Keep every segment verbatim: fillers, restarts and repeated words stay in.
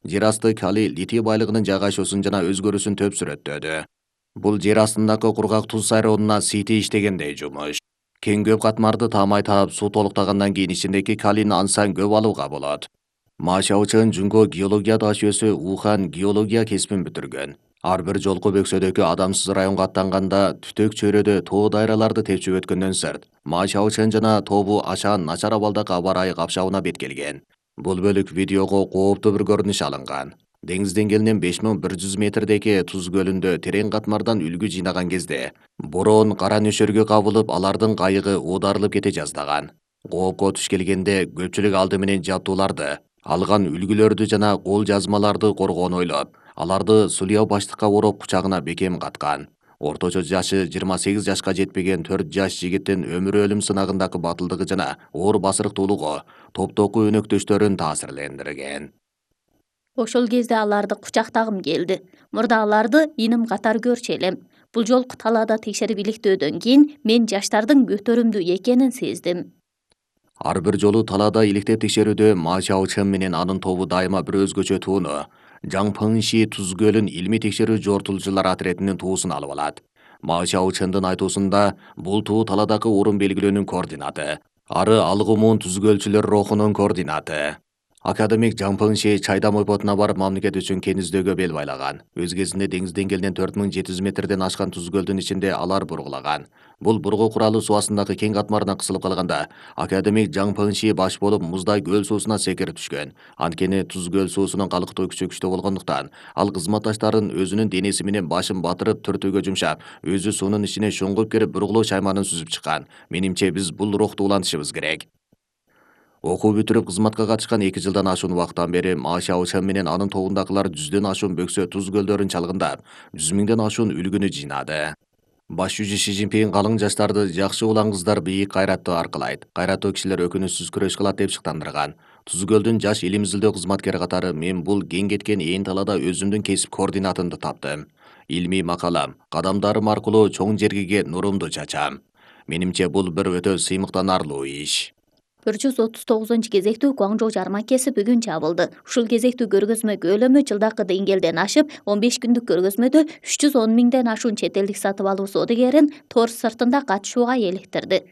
жер асты калий литий байлыгынын жайгашуусун жана өзгөрүүсүн төп сүрөттөдү. Бул жер астындагы кургак туз айронуна сыйти иштегендей жумуш. Кең көп катмарды таамай таап суу толуктагандан кийин ичиндеги калийни ансан көп алууга болот. Ма Шаочэн Жунго геология дашөөсү Ухан геология кесибин бүтүргөн. Ар бир жолку бөксөдөгү адамсыз районго аттанганда түтөк чөйрөдө тоо дайраларды тепчип өткөндөн сырт, Ма Шаочэн жана тобу ашаан начар абалдагы аба ырайы капшабына бет келген. Бул бөлүк видеого кооптуу бир көрүнүш алынган. Деңиз деңгээлинен беш миң бир жүз метрдеги Туз көлүндө терең катмардан үлгү жыйнаган кезде бороон кара нөшөргө кабылып, алардын кайыгы оодарылып кете жаздаган. Коопко туш келгенде көпчүлүк алды менен жабдууларды, алган үлгүлөрдү жана кол жазмаларды коргоону ойлоп, аларды сулия баштыкка ороп кучагына бекем каткан. Орточо жашы жыйырма сегиз жашка жетпеген төрт жаш жигиттин өмүр өлүм сынагындагы батылдыгы жана оор басырыктуулугу топтогу өнөктөштөрүн таасирлендирген. Ошол кезде аларды кучактагым келди. Мурда аларды иним катар көрчү элем. Бул жолку талаада текшерип иликтөөдөн кийин мен жаштардын көтөрүмдүү экенин сездим. Ар бир жолу талаада иликтеп текшерүүдө Ма Шаочэн менен анын тобу дайыма бир өзгөчө тууну Жаң Пыңши Туз көлүн илмий текшерүү жортулуучулар атретинин туусун алып алат. Ма Шаочэндин айтуусунда бул туу таладагы орун белгилөөнүн координаты, ары алгымуун туз көлчүлөр рухунун координаты. Академик Жаң Пыңши Чайдам ойпотуна барып мамлекет үчүн кен издөөгө бел байлаган. Өз кезинде деңиз деңгээлинен төрт миң жети жүз метрден ашкан Туз көлдүн ичинде алар бургулаган. Бул бургу куралы суу астындагы кең катмардан кысылып калганда, академик Жаң Пыңши баш болуп муздай көл суусуна секирип түшкөн. Анткени Туз көл суусунун калктуу күчү күчтүү болгондуктан, ал кызматташтарын өзүнүн денеси менен башын батырып түртүүгө жумшап, өзү суунун ичине шоңгуп кирип бургулоо шайманын сүзүп чыккан. Менимче биз бул рухту улантышыбыз керек. Окуу бүтүрүп кызматка катышкан эки жылдан ашуун убакыттан бери Ма Шаочэн менен анын тобундагылар жүздөн ашуун бөксө Туз көлдөрүн чалгындап, жүз миңден ашуун үлгүнү жыйнады. Баш жүзү Ши Цзиньпин калың жаштарды жакшы улан кыздар бийик кайраттуу аркылайт, кайраттуу кишилер өкүнүчсүз күрөш кылат деп шыктандырган. Туз көлдүн жаш илим изилдөө кызматкери катары мен бул кең кеткен ээн талаада өзүмдүн кесип координатымды таптым. Илмий макалам, кадамдарым аркылуу чоң жергеге нурумду чачам. Менимче бул бир өтө сыймыктанарлуу иш. бир жүз отуз тогузунчу кезектүү Гуаңжоу жармакеси бүгүн жабылды. Ушул кезектүү көргөзмө көлөмү жылдакы деңгээлден ашып, он беш күндүк көргөзмөдө үч жүз он миңден ашуун чет элдик сатып алуу соодагерин тор сыртында катышууга эликтирди.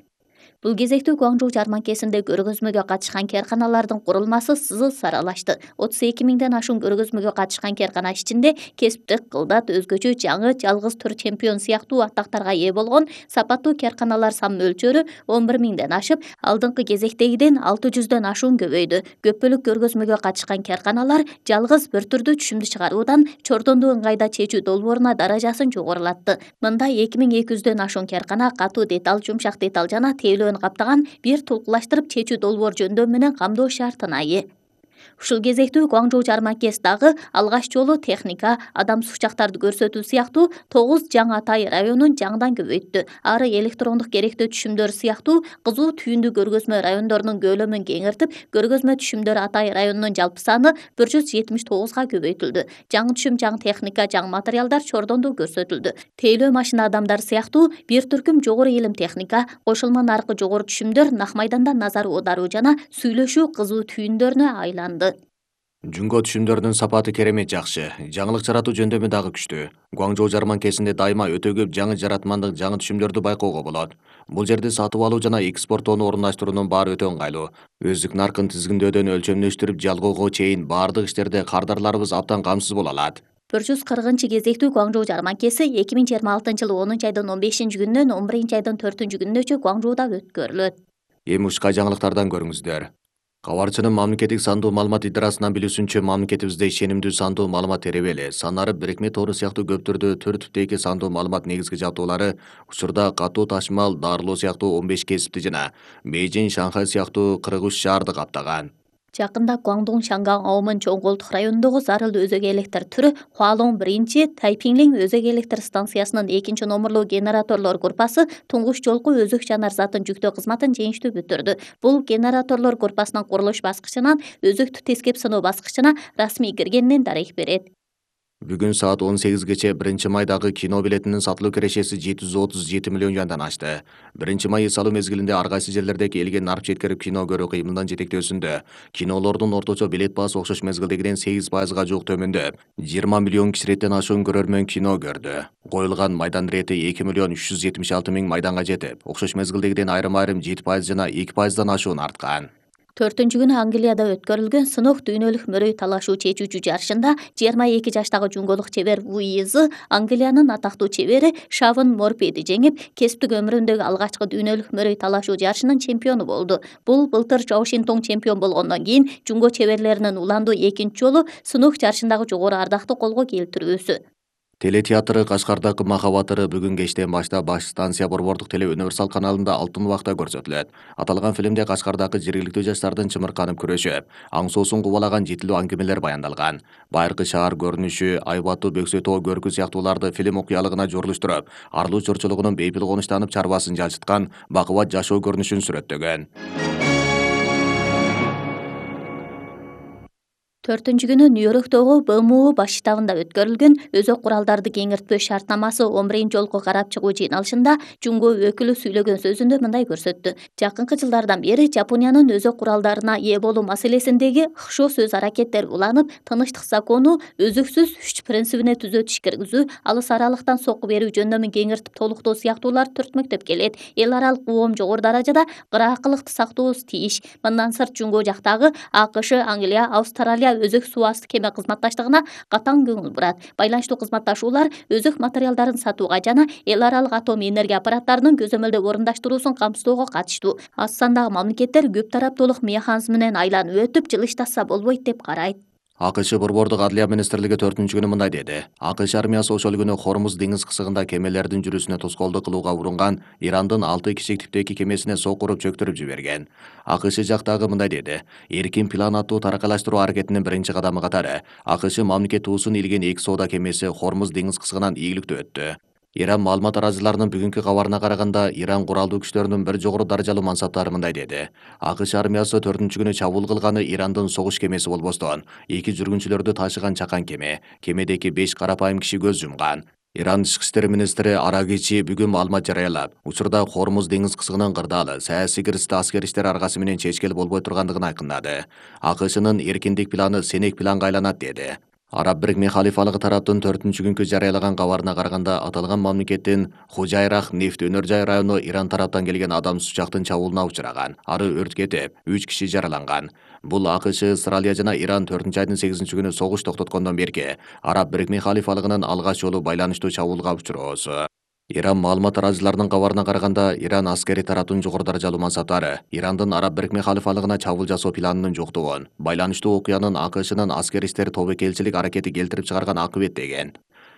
Бул кезектүү Гуаңжоу жармакесинде көргөзмөгө катышкан керканалардын курулмасы сызыл саралашты. отуз эки миңден ашуун көргөзмөгө катышкан керкана ичинде кесиптик кылдат, өзгөчө жаңы, жалгыз түр чемпион сыяктуу аттактарга ээ болгон сапаттуу керканалар сан мөлчөрү он бир миңден ашып, алдыңкы кезектегиден алты жүздөн ашуун көбөйдү. Көпбөлүк көргөзмөгө катышкан керканалар жалгыз бир түрдүү түшүмдү чыгаруудан чордонду ыңгайда чечүү долбооруна даражасын жогорулатты. Мында эки миң эки жүздөн ашуун керкана катуу деталь, жумшак деталь жана тейлөө каптаган бир тулкулаштырып чечүү долбоор жөндөм менен камдоо шартына ээ. Ушул кезектүү Гуаңжоу жармакес дагы алгач жолу техника, адамсыз учактарды көрсөтүү сыяктуу тогуз Жаң Атай районун жаңдан көбөйттү. Ары электрондук керектөө түшүмдөр сыяктуу кызуу түйүндүү көргөзмө райондорунун көлөмүн кеңиртип, көргөзмө түшүмдөр Атай районунун жалпы саны бир жүз жетимиш тогузга көбөйтүлдү. Жаңы түшүм, жаңы техника, жаңы материалдар чордондуу көрсөтүлдү. Тейлөө машина адамдар сыяктуу бир түркүм жогору илим техника, кошулма наркы жогору түшүмдөр нак майданда назар оодаруу жана сүйлөшүү кызуу түйүндөрүнө айланды. Жунго түшүмдөрүнүн сапаты керемет жакшы, жаңылык жаратуу жөндөмү дагы күчтүү. Гуаңжоу жарманкесинде дайыма өтө көп жаңы жаратмандык, жаңы түшүмдөрдү байкоого болот. Бул жерде сатып алуу жана экспорттоону орундаштыруунун баары өтө ыңгайлуу. Өздүк наркын тизгиндөөдөн өлчөмдөштүрүп жалгоого чейин баардык иштерде кардарларыбыз абдан камсыз боло алат. бир жүз кыркынчы кезектүү Гуаңжоу жарманкеси эки миң жыйырма алтынчы жылы онунчу айдын он бешинчи күнүнөн он биринчи айдын төртүнчү күнүнөчө Гуаңжоуда өткөрүлөт. Эми ушка жаңылыктардан көрүңүздөр. Кабарчынын мамлекеттик сандуу маалымат идарасынан билүүсүнчө, мамлекетибизде ишенимдүү сандуу маалымат теребели, санары бирикме тору сыяктуу көп түрдүү төр типтеги сандуу маалымат негизги жабдуулары учурда катуу ташмал, дарылоо сыяктуу он беш кесипти жана Бейжиң, Шанхай сыяктуу кырк үч шаарды каптаган. Жакында Гуаңдун Шанган Аомын чоң колдук районундагы зарыл өзөк электр түрү Хуалоң биринчи, Тайпиңлиң өзөк электр станциясынын экинчи номурлуу генераторлор группасы туңгуч жолку өзөк жанар затын жүктөө кызматын жеңиштүү бүтүрдү. Бул генераторлор группасынын курулуш баскычынан өзөктү тескеп сыноо баскычына расмий киргенинен дарек берет. Бүгүн саат он сегизгече биринчи майдагы кино билетинин сатылуу кирешеси жети жүз отуз жети миллион жандан ашты. биринчи май эс алуу мезгилинде ар кайсы жерлердеги элге нарп жеткирип кино көрүү кыймылдан жетектөөсүндө кинолордун орточо билет баасы окшош мезгилдегиден сегиз пайызга жуук төмөндөп, жыйырма миллион киши иреттен ашуун көрөрмөн кино көрдү. Коюлган майдан ирети эки миллион үч жүз жетимиш алты миң майданга жетип, окшош мезгилдегиден айрым-айрым жети пайыз жана эки пайыздан ашуун арткан. Төртүнчү күнү Англияда өткөрүлгөн сынок дүйнөлүк мөрөй талашуу чечүүчү жарышында жыйырма эки жаштагы жуңголук чебер Вуизы Англиянын атактуу чебери Шавон Морпиди жеңип, кесиптик өмүрүндөгү алгачкы дүйнөлүк мөрөй талашуу жарышынын чемпиону болду. Бул былтыр Вашингтон чемпион болгондон кийин жуңго чеберлеринин уландуу экинчи жолу сынок жарышындагы жогору ардакты колго келтирүүсү. Телетеатры Кашкардагы Махабатыры бүгүн кечтен баштап баш станция Борбордук теле универсал каналында алтын убакта көрсөтүлөт. Аталган фильмде Кашкардагы жергиликтүү жаштардын чымырканып күрөшүп, аң соосун кубалаган жетилүү аңгемелер баяндалган. Байыркы шаар көрүнүшү, Айбатуу, Бөксөтөө, Көркү сыяктууларды фильм окуялыгына жорлуштуруп, арлуу чорчулугунун бейпил конуштанып чарбасын жалчыткан бакубат жашоо көрүнүшүн сүрөттөгөн. Төртүнчү күнү Нью-Йорктогу Б М У баш штабында өткөрүлгөн өзөк куралдарды кеңиртпөө шартнамасы он биринчи жолку карап чыгуу жыйналышында жуңго өкүлү сүйлөгөн сөзүндө мындай көрсөттү. Жакынкы жылдардан бери Жапониянын өзөк куралдарына ээ болуу маселесиндеги ыкшоо сөз аракеттер уланып, тынычтык закону өзөксүз үч принцибине түзөтүш киргизүү, алыс аралыктан сокку берүү жөндөмүн кеңиртип толуктоо сыяктуулар түртмөктөп келет. Эл аралык коом жогору даражада кыраакылыкты сактообуз тийиш. Мындан сырт жуңго жактагы А К Ш, Англия, Австралия өзөк суу асты кеме кызматташтыгына катаң көңүл бурат. Байланыштуу кызматташуулар өзөк материалдарын сатууга жана эл аралык атом энергия аппараттарынын көзөмөлдөө орундаштыруусун камсыздоого катыштуу. Аз сандагы мамлекеттер көп тараптуулук механизминен айланып өтүп, жылыштаса болбойт деп карайт. А К Ш Борбордук Адлия министрлиги төртүнчү күнү мындай деди. А К Ш армиясы ошол күнү Хормуз деңиз кысыгында кемелердин жүрүүсүнө тоскоолдук кылууга урунган Ирандын алты кишилик типтеги кемесине сокку уруп чөктүрүп жиберген. А К Ш жактагы мындай деди. Эркин план аттуу таракалаштыруу аракетинин биринчи кадамы катары А К Ш мамлекет туусун илген эки соода кемеси Хормуз деңиз кысыгынан ийгиликтүү өттү. Иран маалымат арачыларынын бүгүнкү кабарына караганда, Иран куралдуу күчтөрүнүн бир жогору даражалуу мансаптары мындай деди. А К Ш армиясы төртүнчү күнү чабуул кылганы Ирандын согуш кемеси болбостон, эки жүргүнчүлөрдү ташыган чакан кеме, кемедеки беш карапайым киши көз жумган. Иран тышкы иштер министри Арагичи бүгүн маалымат жарыялап, учурда Хормуз деңиз кысыгынын кырдаалы саясий киризди аскер иштер аркасы менен чечкели болбой тургандыгын айкындады. А К Шнын эркиндик планы сенек планга айланат деди. Араб Бирикме халифалыгы тараптын төртүнчү күнкү жарыялаган кабарына караганда, аталган мамлекеттин Хужайрах нефт өнөр жай району Иран тараптан келген адамсыз учактын чабуулуна учураган. Ары өрт кетип, үч киши жараланган. Бул А К Ш, Австралия жана Иран төртүнчү айдын сегизинчи күнү согуш токтоткондон берки Араб Бирикме халифалыгынын алгач жолу байланыштуу чабуулга учуроосу. Иран маалымат арачыларынын кабарына караганда, Иран аскери тараптын жогору даражалуу мансаптары Ирандын Араб Бирикме халифалыгына чабуул жасоо планынын жоктугун, байланыштуу окуянын А К Шнын аскер иштер тобокелчилик аракети келтирип чыгарган акыбет деген.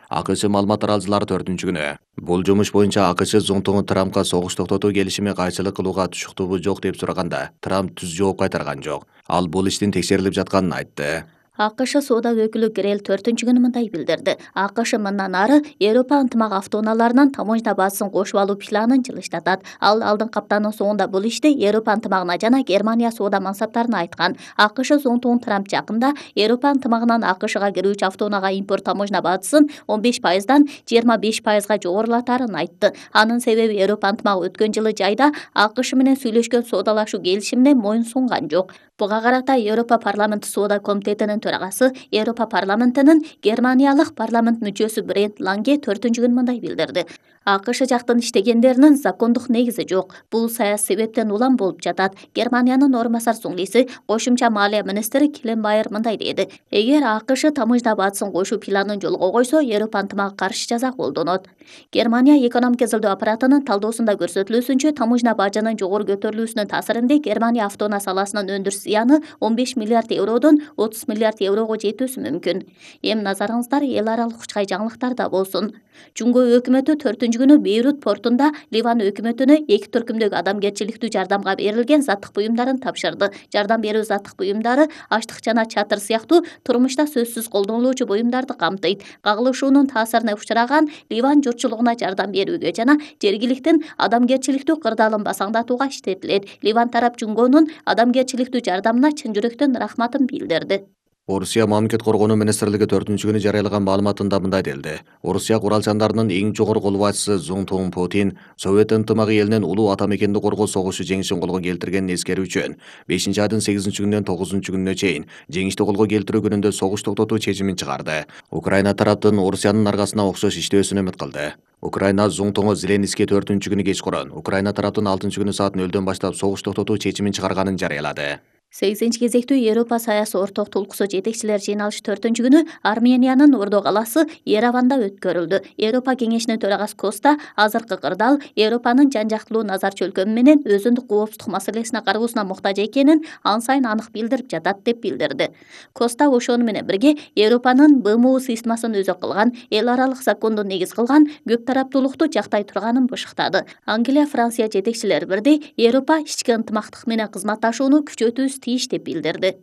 А К Ш маалымат арачылары төртүнчү күнү бул жумуш боюнча А К Ш зонтугу Трампка согуш токтотуу келишими кайчылык кылууга тушуктугу жок деп сураганда, Трамп түз жооп кайтарган жок. Ал бул иштин текшерилип жатканын айтты. А К Ш соода өкүлү Грел төртүнчү күнү мындай билдирди. А К Ш мындан ары Европа ынтымак автоунааларынын таможня базасын кошуп алуу планын жылыштатат. Ал алдыңкы аптанын соңунда бул ишти Европа ынтымагына жана Германия соода мансаптарына айткан. А К Ш зонтугун Трамп жакында Европа ынтымагынан А К Шга кирүүчү автоунаага импорт таможня базасын он беш пайыздан жыйырма беш пайызга жогорулатарын айтты. Анын себеби Европа ынтымагы өткөн жылы жайда А К Ш менен сүйлөшкөн соодалашуу келишимине моюн сунган жок. Буга карата Европа парламенти соода комитетинин төрагасы, Европа парламентинин Германиялык парламент мүчөсү Брент Ланге төртүнчү күнү мындай билдирди. А К Ш жактын иштегендеринин закондук негизи жок. Бул саясий себептен улам болуп жатат. Германиянын орун басар соңгиси, кошумча маалия министри Кленбайер мындай деди. Эгер А К Ш таможня базасын кошуу планын жолго койсо, Европа ынтымагы каршы жаза колдонот. Германия экономика изилдөө аппаратынын талдоосунда көрсөтүлүүсүнчө, таможня бажынын жогору көтөрүлүүсүнүн таасиринде Германия автоунаа саласынын өндүрүш зыяны он беш миллиард евродон отуз миллиард еврого жетүүсү мүмкүн. Эми назарыңыздар эл аралык учкай жаңылыктарда болсун. Жуңго өкмөтү төртүнчү күнү Бейрут портунда Ливан өкмөтүнө эки түркүмдөгү адамгерчиликтүү жардамга берилген заттык буюмдарын тапшырды. Жардам берүү заттык буюмдары аштык жана чатыр сыяктуу турмушта сөзсүз колдонулуучу буюмдарды камтыйт. Кагылышуунун таасирине учураган Ливан журтчулугуна жардам берүүгө жана жергиликтин адамгерчиликтүү кырдаалын басаңдатууга иштетилет. Ливан тарап Жуңгонун адамгерчиликтүү жардамына чын жүрөктөн рахматын билдирди. Орусия мамлекет коргонуу министрлиги төртүнчү күнү жарыялаган маалыматында мындай делди. Орусия куралчандарынын эң жогорку кол башчысы Цзун Путин Совет ынтымагы элинин улуу ата мекенди коргоо согушу жеңишин колго келтиргенин эскерүү үчүн бешинчи айдын сегизинчи күнүнөн тогузунчу күнүнө чейин жеңишти колго келтирүү күнүндө согуш токтотуу чечимин чыгарды. Украина тараптын Орусиянын аркасына окшош иштөөсүн үмүт кылды. Украина Зуңтоңо Зеленский төртүнчү күнү кечкурун Украина тараптын алтынчы күнү саат нөлдөн баштап согуш токтотуу чечимин чыгарганын жарыялады. сегизинчи кезектүү Европа саясий орток толкусу жетекчилер жыйналышы төртүнчү күнү Армениянын Ордо калаасы Ереванда өткөрүлдү. Европа кеңешинин төрагасы Коста азыркы кырдаал Европанын жан-жактылуу назар чөлкөмү менен өзүндүк коопсуздук маселесине кароосуна муктаж экенин ан сайын анык билдирип жатат деп билдирди. Коста ошону менен бирге Европанын БМУ сыйысмасын өзөк кылган, эл аралык законду негиз кылган көп тараптуулукту жактай турганын бышыктады. Англия, Франция жетекчилери бирдей Европа ички ынтымактык менен кызматташууну күчөтүүбүз тийиш деп билдирди.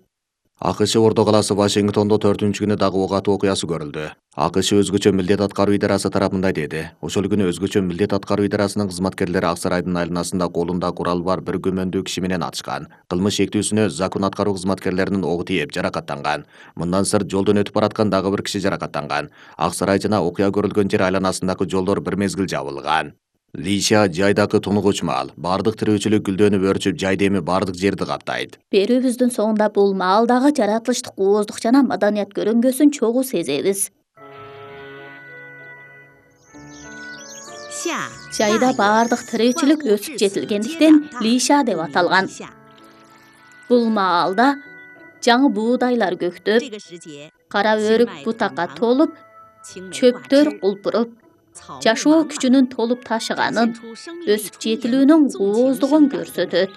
АКШ Ордо калаасы Вашингтондо төртүнчү күнү дагы ок атуу окуясы көрүлдү. АКШ өзгөчө милдет аткаруу идарасы тарабында деди. Ошол күнү өзгөчө милдет аткаруу идарасынын кызматкерлери Ак сарайдын айланасында колунда курал бар бир күмөндүү киши менен атышкан. Кылмыш шектүүсүнө закон аткаруу кызматкерлеринин ого тийип жаракаттанган. Мындан сырт жолдон өтүп бараткан дагы бир киши жаракаттанган. Ак сарай жана окуя көрүлгөн жер айланасындагы жолдор бир мезгил жабылган. Лиша жайдагы тунугуч мал. Бардык тирүүчүлүк гүлдөнүп өрчүп, жайда эми бардык жерди каптайт. Берүүбүздүн соңунда бул маалдагы жаратылыштык ооздук жана маданият көрүнгөсүн чогуу сезебиз. Жайда бардык тирүүчүлүк өсүп жетилгендиктен Лиша деп аталган. Бул маалда жаңы буудайлар көктөп, кара өрүк бутакка толуп, чөптөр кулпуруп, жашоо күчүнүн толуп ташыганын, өсүп жетилүүнүн ооздугун көрсөтөт.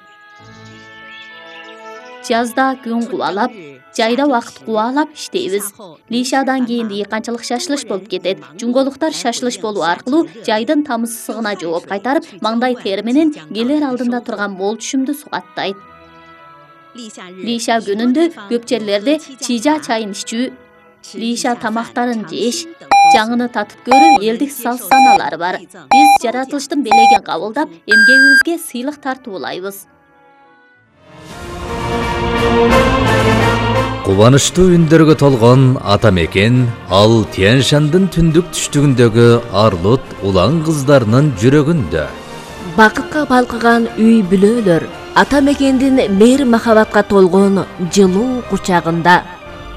Жазда күн кубалап, жайда убакыт кубалап иштейбиз. Лишадан кийин дыйканчылык шашылыш болуп кетет. Жунголуктар шашылыш болуу аркылуу жайдын тамыз ысыгына жооп кайтарып, маңдай тери менен келер алдында турган мол түшүмдү сугаттайт. Лиша күнүндө көп жерлерде чижа чайын ичүү, Лиша тамактарын жеш, жаңыны татып көрүү элдик салт-санаалары бар. Биз жаратылыштын белегин кабылдап, эмгегибизге сыйлык тартуулайбыз. Кубанычтуу үндөргө толгон ата мекен ал Тянь-Шандын түндүк түштүгүндөгү Арлут улан кыздарынын жүрөгүндө. Бакытка балкыган үй бүлөлөр ата мекендин мейир махабатка толгон жылуу кучагында.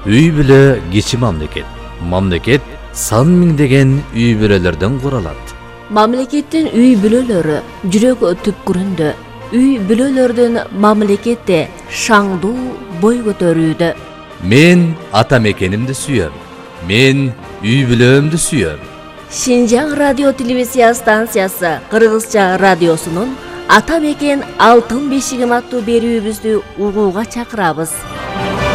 Үй бүлө кичи мамлекет. Мамлекет сан миңдеген үй бүлөлөрдөн куралат. Мамлекеттин үй бүлөлөрү жүрөк түпкүрүндө. Үй бүлөлөрдүн мамлекетте шаңдуу бой көтөрүүдө. Мен ата мекенимди сүйөм. Мен үй бүлөмдү сүйөм. Шинжаң радио телевизия станциясы Кыргызча радиосунун Ата мекен алтын бешигим аттуу берүүбүздү угууга чакырабыз.